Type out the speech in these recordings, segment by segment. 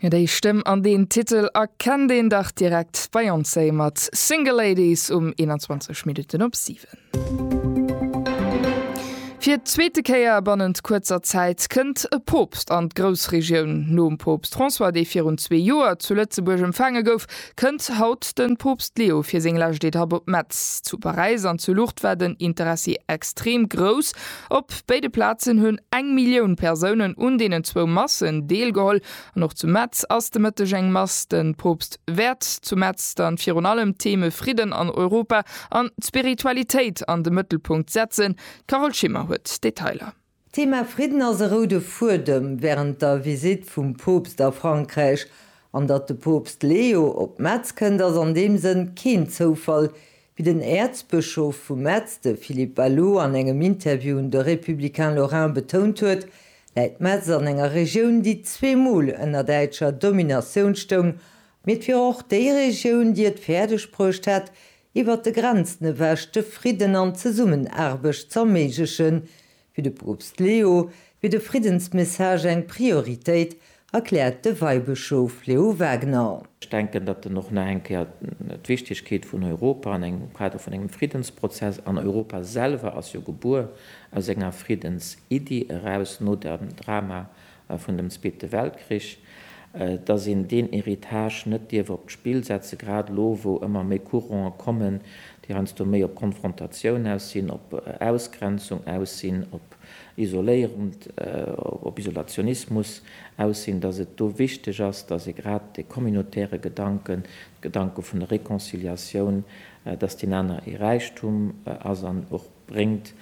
Jo, déi Stëmm an deen Titel erkennt een dach direkt, Beyoncé mat Single Ladies um 21 Minutten op 7. Fir d'zweete Kéier bannent kuerzer Zäit kënnt e Poopst an d'Groussregioun. Nom Poopst François, dee virun zwee Joer zu Lëtzebuerg empfaange gouf, kënnt haut de Poopst Leo fir seng lescht Etapp op Metz. Zu Paräis an zu Lourdes war den Interessi extrem grouss. Op béide Plazen hunn eng Millioun Persounen un deenen zwou Massen deelgeholl. An och zu Metz ass de Mëtteg eng Mass. De Poopst wäert zu Metz dann virun allem d'Theme Fridden an Europa an d'Spiritualitéit an de Mëttelpunkt setzen. D'Carole Schimmer huet d'Detailer. D'Thema Fridden ass e roude Fuedem wärend der Visitt vum Poopst a Frankräich. An datt de Poopst Leo op Metz kënnt, ass an deem Sënn keen Zoufall, Wéi den Äerzbëschof vu Metz, de Philippe Ballot, an engem Interview un de Républicain Lorrain betount huet, läit Metz an enger Regioun, déi zweemol ënner däitscher Dominatioun stoung, mee et wier och déi Regioun, déi et fäerdeg bruecht hätt, iwwer de Grenzen ewech de Fridden an d'Zesummenaarbecht z'erméiglechen. Fir de Poopst Leo wier de Friddensmessage eng Prioritéit, erkläert de Weibëschof Leo Wagener. Ech denken, datt en och nach eng Kéier d'Wichtigkeet vun Europa an engem Kader vun engem Friddensprozess, an Europa selwer ass jo gebuer aus enger Friddensiddi eraus no dem Drama vun dem Zweete Weltkrich, dass een deen Héritage net dierf op d'Spill setzen, grad elo wou ëmmer méi Courante kommen, déi heiansdo méi op Konfrontatioun aus sinn, op Ausgrenzung aus sinn, op Isoléierung, op Isolationismus aus sinn, dass et do wichteg ass, dass ee grad dee communautaire Gedanken, de Gedanke vun der Réconciliatioun, dass deen aner ee Räichtum ass an och bréngt,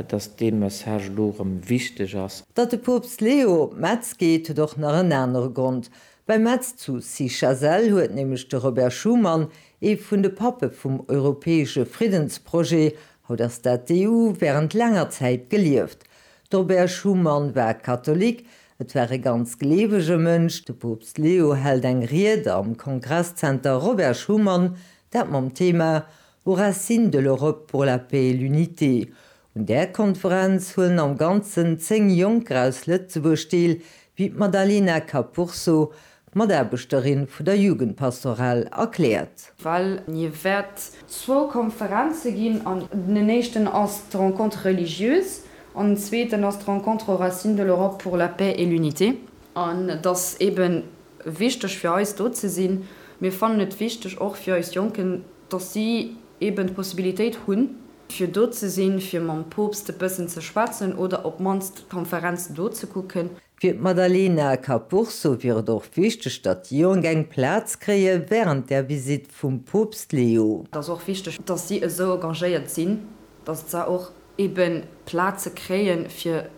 dass dee Message elo erëm wichteg ass. Datt de Poopst Leo op Metz geet, huet och nach en anere Grond. Bei Metz zu Cychazelle huet nämlech de Robert Schuman, ee vun de Pappe vum europäesche Friddensprojet, haut ass dat d'EU, wärend laanger Zäit gelieft. De Robert Schuman war Katholik, et war e ganz gleewege Mënsch. De Poopst Leo hält eng Ried am Kongresszenter Robert Schuman, dat mam Thema Aux racines de l'Europe pour la paix et l'unité. Un där Konferenz huelen am Ganzen 10 Jonker aus Lëtzebuerg deel, wéi d'Madalena Capurso, Mataarbechterin vu der Jugendpastoral, erkläert. Well et wäert zwou Konferenze ginn an den éischten ass d'Rencontre religieuse an den zweeten ass d'Rencontre aux racines de l'Europe pour la paix et l'unité. An et ass eeben wichteg fir eis do ze sinn. Mir fannen et wichteg och fir eis Jonken, dass si eben d'Possibilitéit hunn, fir do ze sinn, fir mam Poopst e bëssen ze schwätzen oder op d'mannst d'Konferenz do ze kucken. Fir d'Madalena Capurso wier et och wichteg, datt déi Jonk eng Plaz kréie wärend der Visitt vum Poopst Leo. Et ass och wichteg, dass si esou engagéiert sinn, dass se och eben Plaze kréien, fir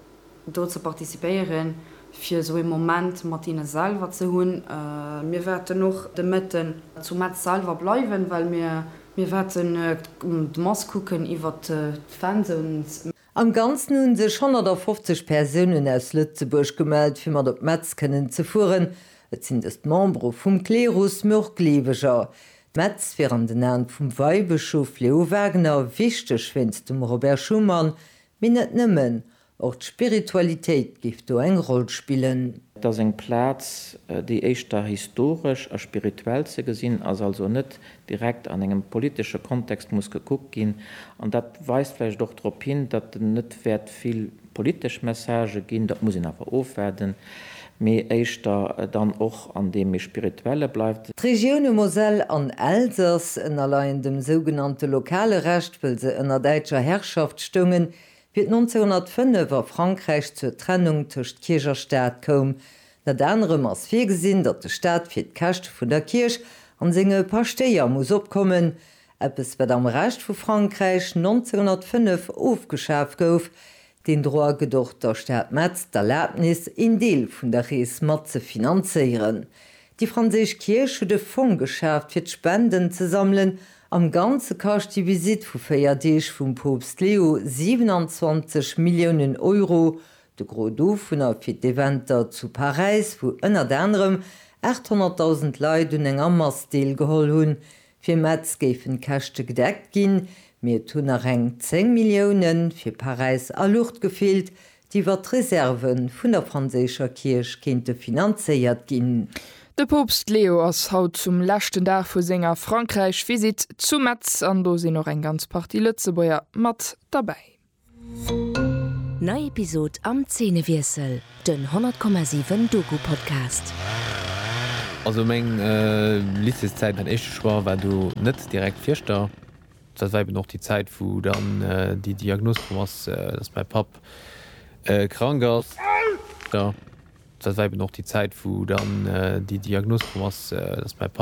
do ze participéieren, fir esou ee Moment mat hinne selwer ze hunn. Mir wäerten och de Mëtten zu Metz selwer bleiwen, well mir mir wäerten d'Mass kucken iwwer d'Fanzones. Am Ganzen hu sech 150 Persounen aus Lëtzebuerg gemellt, fir mat op Metz kënnen ze fueren. Et sinn dëst Membere vum Klerus, mee och Gleeweger. Metz wier an den Aen vum Weibëschof Leo Wagener wichteg wéinst dem Robert Schuman, Mee net nëmmen, och d'Spiritualitéit géif do eng Roll spillen. Et ass eng Plaz, déi éischter historesch a spirituell ze gesinn ass, also net direkt an engem politesche Kontext muss gekuckt ginn. An dat weist vläicht och drop hin, datt en net wäert vill politesch Messagë ginn, dat muss een awer ofwaarden, mee éischter dann och an deem méi spirituelle bleift. D'Regioune Moselle an Elsass ënnerleien dem sougenannte lokale Recht, wëll se ënner däitscher Herrschaft stoungen, wéi et 1905 a Frankräich zur Trennung tëscht Kierch a Staat koum. Ënnert anerem ass virgesinn, datt de Staat fir d'Käschte vun der Kierch an senge Paschtéier muss opkommen, eppes wat am Rescht vu Frankräich 1905 ofgeschaf gouf. Deen Droit gëtt och der Stad Metz d'Erlabnis, een Deel vun der Rees mat ze finanzéieren. Déi franséisch Kierch huet e Fong geschaaft, fir d'Spenden ze sammelen. Am Ganze kascht déi Visitt vu 4 Deeg vum Poopst Leo 27 Milliounen Euro, de Gros dovunner fir d'Eventer zu Paräis, wou ënnert anerem 800.000 Leit un enger Mass deelgeholl hunn. Fir Metz géifen d'Käschte gedeckt ginn, mee et hunn nach eng 10 Millioune fir Paräis a Lourdes gefeelt, déi iwwer d'Reserve vun der franséischer Kierch kéinte finanzéiert ginn. De Poopst Leo ass haut zum leschten Dag vu senger Frankräich-Visitt zu Metz an do sinn och eng ganz Partie Lëtzebuerger mat derbäi. Nei Episod am Zeenewiessel, den 100,7 Doku-Podcast. Also meng Lycéeszäit, mäin éischte Choix war do net direkt Fierschter. Dat war eben och déi Zäit wou dann déi Diagnos komm ass, dass mäi Papp krank ass. Dat war eben och déi Zäit wou dann déi Diagnos komm ass, dass mäi Papp.